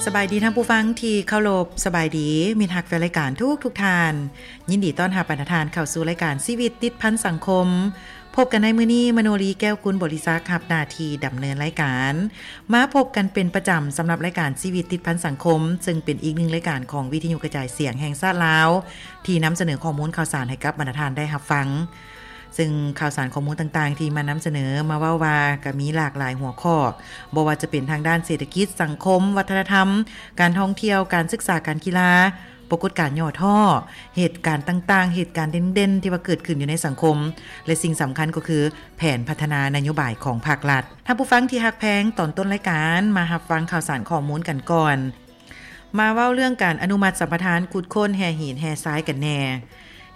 ສະບາຍດີທ່ານຜູ້ຟັງທີ່ເຄົາລົບ, ສະບາຍດີມິດຮັກແຟນລາຍການທຸກໆທ່ານ. ຍິນດີຕ້ອນຮັບບັນດາທ່ານເຂົ້າສູ່ລາຍການຊີວິດຕິດພັນສັງຄົມ. ພົບກັນໃນມື້ນີ້, ມະໂນລີ ແກ້ວກຸນບໍລິສັກ ຮັບໜ້າທີ່ດຳເນີນລາຍການ. ມາພົບກັນເປັນປະຈຳສຳລັບລາຍການຊີວິດຕິດພັນສັງຄົມ, ເຊິ່ງເປັນອີກໜຶ່ງລາຍການຂອງວິທະຍຸກະຈາຍສຽງແຫ່ງຊາດລາວ ທີ່ນຳສະເໜີຂໍ້ມູນຂ່າວສານໃຫ້ກັບບັນດາທ່ານໄດ້ຮັບຟັງ. ເຊິ່ງຂ່າວສານຂໍ້ມູນຕ່າງໆທີ່ມານຳສະເໜີ ມາເວົ້າວ່າກໍມີຫຼາກຫຼາຍຫົວຂໍ້, ບໍ່ວ່າຈະເປັນທາງດ້ານເສດຖະກິດ, ສັງຄົມ, ວັດທະນະທຳ, ການທ່ອງທ່ຽວ, ການສຶກສາ, ການກິລາ, ປາກົດການຫຍໍ້ທໍ້, ເຫດການຕ່າງໆ, ເຫດການເດັ່ນໆທີ່ວ່າເກີດຂຶ້ນຢູ່ໃນສັງຄົມ ແລະ ສິ່ງສຳຄັນກໍຄືແຜນພັດທະນານະໂຍບາຍຂອງພັກລັດ. ທ່ານຜູ້ຟັງທີ່ຮັກແພງ, ຕອນຕົ້ນລາຍການມາຮັບຟັງຂ່າວສານຂໍ້ມູນກັນກ່ອນ. ມາເວົ້າເລື່ອງການອະນຸມັດສຳປະທານຂຸດຄົ້ນແຮ່ຫີນແຮ່ຊາຍກັນແດ່.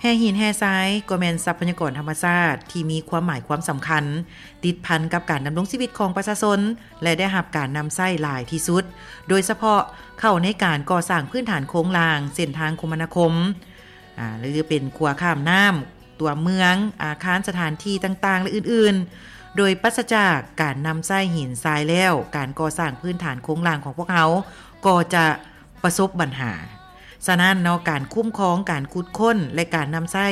ແຮ່ຫີນແຮ່ຊາຍກໍແມ່ນຊັບພະຍາກອນທຳມະຊາດທີ່ມີຄວາມໝາຍຄວາມສຳຄັນ ຕິດພັນກັບການດຳລົງຊີວິດຂອງປະຊາຊົນ ແລະ ໄດ້ຮັບການນຳໃຊ້ຫຼາຍທີ່ສຸດ, ໂດຍສະເພາະເຂົ້າໃນການກໍ່ສ້າງພື້ນຖານໂຄງລ່າງ, ເສັ້ນທາງຄົມມະນາຄົມ, ອາ ຫຼື ເປັນຂົວຂ້າມນ້ຳ, ຕົວເມືອງ, ອາຄານ, ສະຖານທີ່ຕ່າງໆ ແລະ ອື່ນໆ. ໂດຍປາສະຈາກການນຳໃຊ້ຫີນຊາຍແລ້ວ, ການກໍ່ສ້າງພື້ນຖານໂຄງລ່າງຂອງພວກເຮົາກໍຈະປະສົບບັນຫາ. ສະນັ້ນເນາະ, ການຄຸ້ມຄອງ, ການຂຸດຄົ້ນ ແລະ ການນຳໃຊ້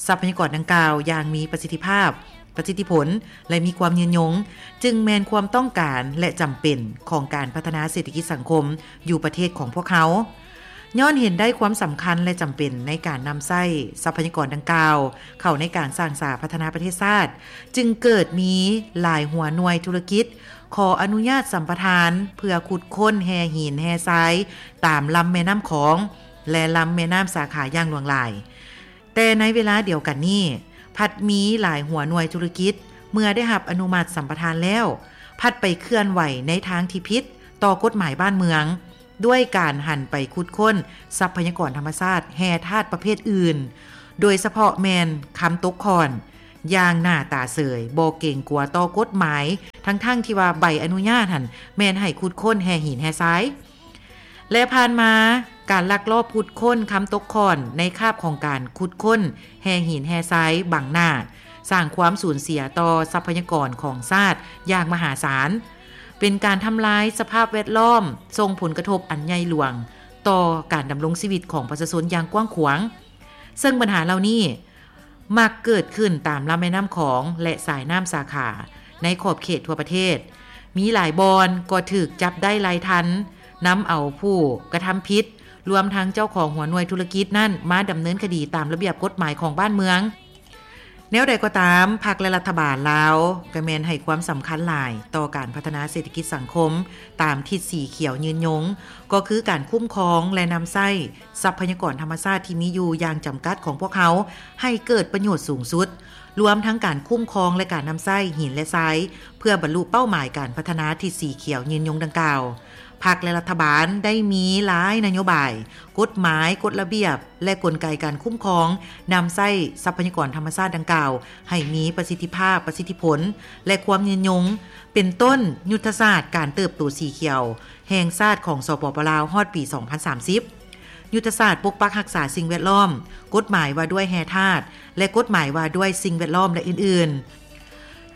ຊັບພະຍາກອນດັ່ງກ່າວຢ່າງມີປະສິດທິພາບ, ປະສິດທິຜົນ ແລະ ມີຄວາມຍືນຍົງ, ຈຶ່ງແມ່ນຄວາມຕ້ອງການ ແລະ ຈຳເປັນຂອງການພັດທະນາເສດຖະກິດສັງຄົມຢູ່ປະເທດຂອງພວກເຮົາ. ຍ້ອນເຫັນໄດ້ຄວາມສຳຄັນ ແລະ ຈຳເປັນໃນການນຳໃຊ້ຊັບພະຍາກອນດັ່ງກ່າວເຂົ້າໃນການສ້າງສາພັດທະນາປະເທດຊາດ, ຈຶ່ງເກີດມີຫຼາຍຫົວໜ່ວຍທຸລະກິດ ຂໍອະນຸຍາດສຳປະທານເພື່ອຂຸດຄົ້ນແຮ່ຫີນແຮ່ຊາຍຕາມລຳແມ່ນ້ຳຂອງ ແລະ ລຳແມ່ນ້ຳສາຂາຢ່າງຫຼວງຫຼາຍ. ແຕ່ໃນເວລາດຽວກັນນີ້, ພັດມີຫຼາຍຫົວໜ່ວຍທຸລະກິດ ເມື່ອໄດ້ຮັບອະນຸມັດສຳປະທານແລ້ວ, ພັດໄປເຄື່ອນໄຫວໃນທາງທີ່ຜິດຕໍ່ກົດໝາຍບ້ານເມືອງ, ດ້ວຍການຫັນໄປຂຸດຄົ້ນຊັບພະຍາກອນທຳມະຊາດແຮ່ທາດປະເພດອື່ນ, ໂດຍສະເພາະແມ່ນຄຳຕົກຂ້ອນ, ຢ່າງໜ້າຕາເສີຍ, ບໍ່ເກງກົວຕໍ່ກົດໝາຍ, ທັງໆທີ່ວ່າໃບອະນຸຍາດຫັ້ນແມ່ນໃຫ້ຂຸດຄົ້ນແຮ່ຫີນແຮ່ຊາຍ. ແລະ ຜ່ານມາ, ການລັກລອບຂຸດຄົ້ນຄຳຕົກຂ້ອນໃນຄາບຂອງການຂຸດຄົ້ນແຮ່ຫີນແຮ່ຊາຍບັງໜ້າ, ສ້າງຄວາມສູນເສຍຕໍ່ຊັບພະຍາກອນຂອງຊາດຢ່າງມະຫາສານ, ເປັນການທຳລາຍສະພາບແວດລ້ອມ, ສົ່ງຜົນກະທົບອັນໃຫຍ່ຫຼວງຕໍ່ການດຳລົງຊີວິດຂອງປະຊາຊົນຢ່າງກວ້າງຂວາງ. ເຊິ່ງບັນຫາເຫຼົ່ານີ້ ມັກເກີດຂຶ້ນຕາມລຳແມ່ນ້ຳຂອງ ແລະ ສາຍນ້ຳສາຂາໃນຂອບເຂດທົ່ວປະເທດ. ມີຫຼາຍບ່ອນກໍຖືກຈັບໄດ້ລາຍທັນ, ນຳເອົາຜູ້ກະທຳຜິດ, ລວມທັງເຈົ້າຂອງຫົວໜ່ວຍທຸລະກິດນັ້ນມາດຳເນີນຄະດີຕາມລະບຽບກົດໝາຍຂອງບ້ານເມືອງ. ແນວໃດກໍຕາມ, ພັກ ແລະ ລັດຖະບານລາວກໍແມ່ນໃຫ້ຄວາມສຳຄັນຫຼາຍຕໍ່ການພັດທະນາເສດຖະກິດສັງຄົມຕາມທິດສີຂຽວຍືນຍົງ, ກໍຄືການຄຸ້ມຄອງ ແລະ ນຳໃຊ້ ຊັບພະຍາກອນທຳມະຊາດທີ່ມີຢູ່ຢ່າງຈຳກັດຂອງພວກເຮົາໃຫ້ເກີດປະໂຫຍດສູງສຸດ, ລວມທັງການຄຸ້ມຄອງ ແລະ ການນຳໃຊ້ຫີນ ແລະ ຊາຍ ເພື່ອບັນລຸເປົ້າໝາຍການພັດທະນາທິດສີຂຽວຍືນຍົງດັ່ງກ່າວ. ພັກ ແລະ ລັດຖະບານໄດ້ມີຫຼາຍນະໂຍບາຍ, ກົດໝາຍ, ກົດລະບຽບ ແລະ ກົນໄກການຄຸ້ມຄອງນຳໃຊ້ຊັບພະຍາກອນທຳມະຊາດດັ່ງກ່າວໃຫ້ມີປະສິດທິພາບ, ປະສິດທິຜົນ ແລະ ຄວາມຍືນຍົງ, ເປັນຕົ້ນ ຍຸດທະສາດການເຕີບໂຕສີຂຽວ ແຫ່ງຊາດຂອງ ສປປ ລາວ ຮອດປີສອງພັນສາມສິບ, ຍຸດທະສາດປົກປັກຮັກສາສິ່ງແວດລ້ອມ, ກົດໝາຍວ່າດ້ວຍແຮ່ທາດ ແລະ ກົດໝາຍວ່າດ້ວຍສິ່ງແວດລ້ອມ ແລະ ອື່ນໆ.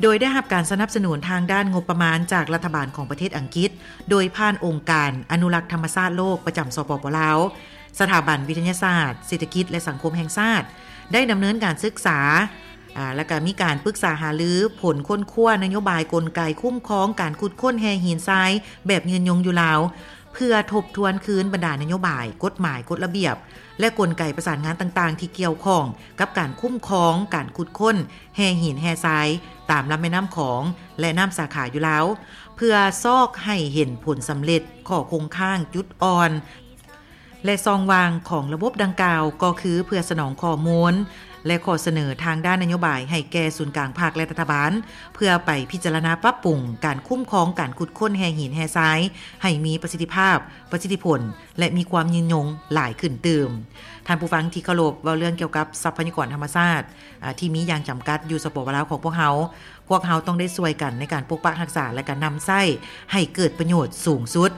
ໂດຍໄດ້ຮັບການສະໜັບສະໜູນທາງດ້ານງົບປະມານຈາກລັດຖະບານຂອງປະເທດອັງກິດ, ໂດຍຜ່ານອົງການອະນຸລັກທຳມະຊາດໂລກປະຈຳ ສປປ ລາວ, ສະຖາບັນວິທະຍາສາດເສດຖະກິດ ແລະ ສັງຄົມແຫ່ງຊາດ, ໄດ້ດຳເນີນການສຶກສາ ອາ ແລະ ກະມີການປຶກສາຫາລືຜົນຄົ້ນຄວ້ານະໂຍບາຍ, ກົນໄກ, ຄຸ້ມຄອງການຂຸດຄົ້ນແຮ່ຫີນຊາຍແບບຍືນຍົງຢູ່ລາວ, ເພື່ອທົບທວນຄືນບັນດານະໂຍບາຍ, ກົດໝາຍ, ກົດລະບຽບ ແລະ ກົນໄກປະສານງານຕ່າງໆທີ່ກ່ຽວຂ້ອງກັບການຄຸ້ມຄອງການຂຸດຄົ້ນແຮ່ຫີນແຮ່ຊາຍຕາມລຳແມ່ນ້ຳຂອງ ແລະ ນ້ຳສາຂາຢູ່ລາວ, ເພື່ອຊອກໃຫ້ເຫັນຜົນສຳເລັດ, ຂໍ້ຄົງຄ້າງ, ຈຸດອ່ອນ ແລະ ຊ່ອງວ່າງຂອງລະບົບດັ່ງກ່າວ ກໍຄືເພື່ອສະໜອງຂໍ້ມູນ ແລະ ຂໍ້ສະເໜີທາງດ້ານນະໂຍບາຍໃຫ້ແກ່ສູນກາງພັກ ແລະ ລັດຖະບານ, ເພື່ອໄປພິຈາລະນາປັບປຸງການຄຸ້ມຄອງການຂຸດຄົ້ນແຮ່ຫີນແຮ່ຊາຍໃຫ້ມີປະສິດທິພາບ, ປະສິດທິຜົນ ແລະ ມີຄວາມຍືນຍົງຫຼາຍຂຶ້ນຕື່ມ. ທ່ານຜູ້ຟັງທີ່ເຄົາລົບ, ເວົ້າເລື່ອງກ່ຽວກັບຊັບພະຍາກອນທຳມະຊາດ ອາ ທີ່ມີຢ່າງຈຳກັດຢູ່ ສປປ ລາວ ຂອງພວກເຮົາ, ພວກເຮົາຕ້ອງໄດ້ຊ່ວຍກັນໃນການປົກປັກຮັກສາ ແລະ ກະນຳໃຊ້ໃຫ້ເກີດປະໂຫຍດສູງສຸດ.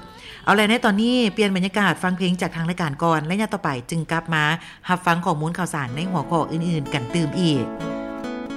ເອົາແຫຼະ, ໃນຕອນນີ້ປ່ຽນບັນຍາກາດຟັງເພງຈາກທາງລາຍການກ່ອນ ແລະ ຍາມຕໍ່ໄປຈຶ່ງກັບມາຮັບຟັງຂໍ້ມູນຂ່າວສານໃນຫົວຂໍ້ອື່ນໆກັນຕື່ມອີກ.